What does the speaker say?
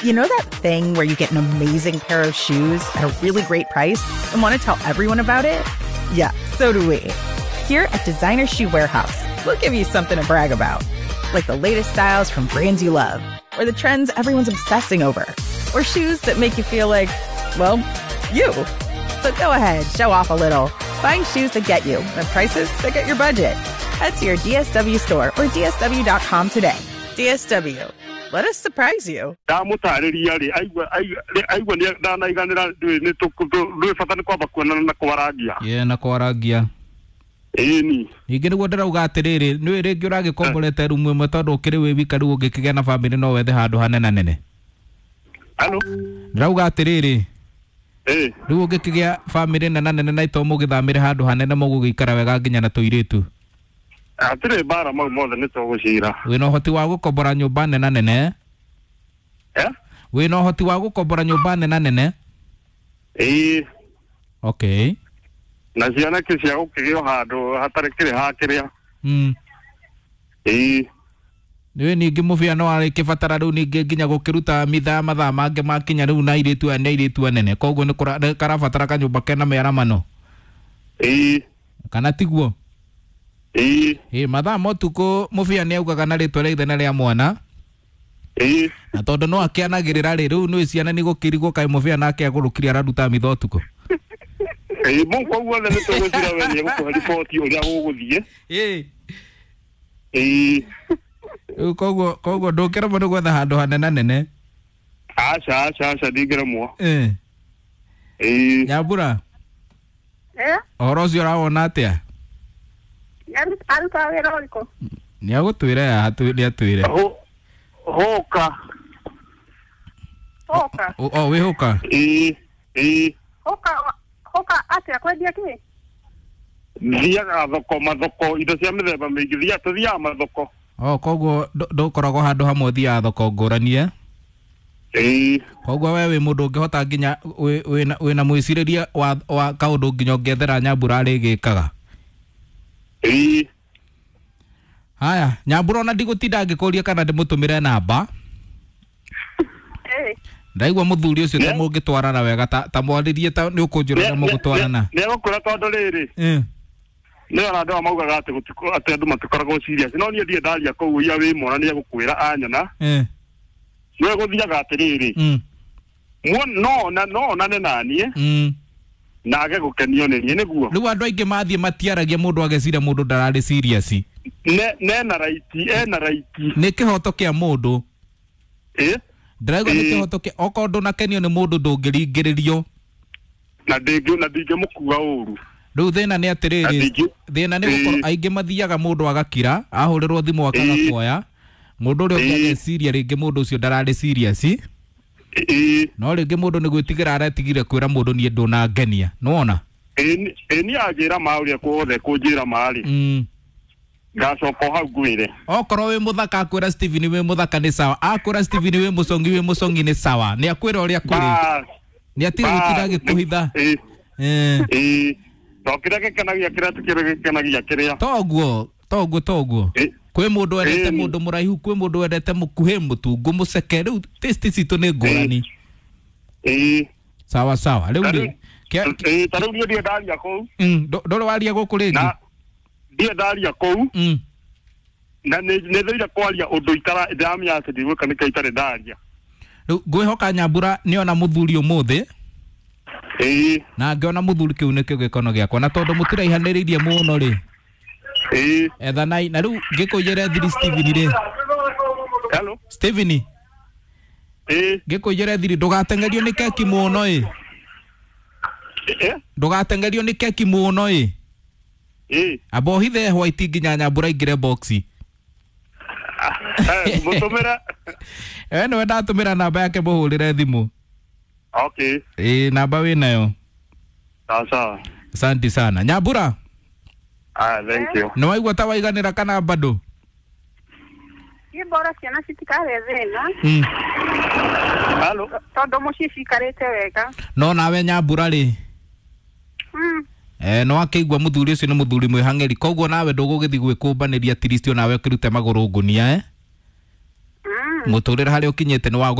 You know that thing where you get an amazing pair of shoes at a really great price and want to tell everyone about it? Yeah, so do we. Here at Designer Shoe Warehouse, we'll give you something to brag about. Like the latest styles from brands you love, or the trends everyone's obsessing over, or shoes that make you feel like, well, you. So go ahead, show off a little. Find shoes that get you and prices that get your budget. Head to your DSW store or DSW.com today. DSW. Let us surprise you. Ndamũtarĩria rĩ aigua ndanaiganĩra ndwĩ bata nĩ kwamba kuonana na kwarangia. Ye na kwarangia. Ĩni. Ningĩ nĩguo ndĩrauga atĩrĩrĩ, nĩũĩ rĩngĩ ũragĩkomborete rumu ĩmwe tondũ ũkĩrĩ wĩ wika rĩu ũngĩkĩgĩa na bamĩrĩ no wethe handũ hanena nene. Halo. Ndĩrauga atĩrĩrĩ, rĩu ũngĩkĩgĩa bamĩrĩ nena nene na ito mũgĩthamĩre handũ hanene mũgũgĩikara wega nginya na tũirĩtu. Hatirĩ mbara mau mothe nĩ tũgũcira. Wĩna ũhoti wa gũkombora nyũmba nena nene? Wĩna ũhoti wa gũkombora nyũmba nena nene? Ĩĩ. Okay. Na ciana cia gũkĩgĩo handũ hatarĩ kĩrĩ hakĩrĩa. Ĩĩ. Nĩũĩ ningĩ mũbĩa no arĩkĩbatara rĩu ningĩ nginya gũkĩruta mithaa mathaa mangĩ makinya rĩu na airĩtu aya nĩ airĩtu anene koguo nĩ karabatara kanyũmba kena mĩaramano. Ĩĩ. Kana tiguo? Ĩĩ. Ĩĩ, mathaa ma ũtukũ mũbĩa nĩ augaga na rĩtwa rĩa ithe na rĩa mwana. Ĩĩ. Na tondũ no akĩanagĩrĩra rĩ, rĩu nĩũĩ ciana nĩ gũkĩrigwo kaĩ mũbĩa nake agũrũkire araruta mitha ũtukũ. Ĩĩ, mau koguo othe nĩ tũgũcira we nĩ egũkũhe riboti ũrĩa gũgũthiĩ. Ĩĩ. Ĩĩ. Rĩu koguo ndũngĩremwo nĩ gwetha handũ hanena nene. Aca aca aca ndingĩremwo. Ĩĩ. Ĩĩ. Nyambura. Eh? Ũhoro ũcio ũrawona atĩa? Aruta wĩra ũrĩkũ? Nĩ agũtwĩra ya nĩ atwĩre. Hũka. Hũka. O wĩ hũka? Ĩĩ. Ĩĩ. Hũka hũka atĩa kwendia kĩ? Thiaga thoko mathoko indo cia mĩthemba mĩingĩ thiaga tũthiaga mathoko. O koguo ndũkoragwo handũ hamwe ũthiaga thoko ngũrani eh? Ĩĩ. Koguo we wĩ mũndũ ũngĩhota nginya wĩna mwĩcirĩrie wa kaũndũ nginya ũngĩethera Nyambura arĩgĩkaga. Ĩĩ. Haya, Nyambura ona ndigũtinda ngĩkũria kana ndĩmũtũmĩre namba. Ĩĩ. Ndaigua mũthuri ũcio ta mũngĩtwarana wega ta mwarĩrie ta nĩ ũkũnjĩra ũrĩa mũgũtwarana. Nĩ egũkwĩra tondũ rĩrĩ. Nĩ ona andũ aya maugaga atĩ atĩ andũ matikoragwo serious. No niĩ ndirĩ ndaria kũu ia wĩ mwana nĩ egũkwĩra anyona. Nĩ egũthiaga atĩrĩrĩ. No onane naniĩ. Na age gũkenio nĩ niĩ nĩguo. Rĩu andũ aingĩ mathiĩ matiaragia mũndũ ageciria mũndũ ndararĩ serious. Nena raiti, ena raiti. Nĩ kĩhoto kĩa mũndũ. Ĩ? Ndĩraigua nĩ kĩhoto kĩa okorwo ndũnakenio nĩ mũndũ ndũngĩringĩrĩrio. Na ndingĩmũkua ũru. Rĩu thĩna nĩ atĩrĩrĩ, thĩna nĩ gũkorwo aingĩ mathiaga mũndũ agakira, ahũrĩrwo thimũ akaga kuoya. Mũndũ ũrĩa ũngĩ ageciria rĩngĩ mũndũ ũcio ndararĩ serious. No rĩngĩ mũndũ nĩ gwĩtigĩra aretigire kwĩra mũndũ niĩ ndũnangenia. Nĩwona? Ĩ niĩ anjĩra ma ũrĩa kuothe kũnjĩra ma rĩ. Ngacoka hau ngwĩre. Okorwo wĩ mũthaka akwĩra Steven wĩ mũthaka nĩ sawa. Akwĩra Steven wĩ mũcongi wĩ mũcongi nĩ sawa. Nĩ akwĩra ũrĩa kũrĩ. Nĩ atige gũtinda agĩkũhitha. Ĩĩ. To kĩrĩa gĩkenagia kĩrĩa ti kĩrĩa gĩkenagia kĩrĩa. Toguo, toguo toguo. Kwĩ mũndũ wendete mũndũ mũraihu, kwĩ mũndũ wendete mũkuhĩ, mũtungu, mũceke. Rĩu taste citũ nĩ ngũrani. Ĩĩ. Sawa sawa. Rĩu rĩ. Ĩĩ, ta rĩu niĩ ndirĩ ndaria kũu. Ndũrĩ waria gũkũ rĩngĩ? Ndirĩ ndaria kũu. Na nĩ thũire kwaria ũndũ ndĩramenya atĩ ndigwĩka nĩkĩo itarĩ ndaria. Rĩu ngwĩhoka Nyambura nĩona mũthuri ũmũthĩ. Ĩĩ. Na ngĩona mũthuri kĩu nĩkĩo gĩkono gĩakwa na tondũ mũtiraihanĩrĩirie mũno rĩ. Ĩĩ. Ethanai na rĩu ngĩkũiyĩre thiri Steven rĩ. Hello. Steven. Ĩĩ. Ngĩkũiyĩre thiri ndũgateng'erio nĩ keki mũno ĩ. Ndũgateng'erio nĩ keki mũno ĩ. Ĩĩ. Amba ũhithe white nginya Nyambura aingĩre box. Mũtũmĩre. We nĩwe ndatũmĩra namba yake mũhũrĩre thimũ. Okay. Ĩĩ, namba wĩnayo. Sawa sawa. Asante sana. Nyambura. Ah, thank you. Nĩ waigua ta waiganĩra kana bado? Niĩ bora ciana citikarĩ thĩna. Hello. Tondũ mũciĩ cikarĩte wega. No nawe Nyambura rĩ. No akĩigua mũthuri ũcio nĩ mũthuri mwĩhang'ĩri koguo nawe ndũgũgĩthiĩ gwĩkũmbanĩria at least onawe ũkĩrute magũrũ ngũnia eh? Mũtũrĩre harĩa ũkinyĩte nĩ wa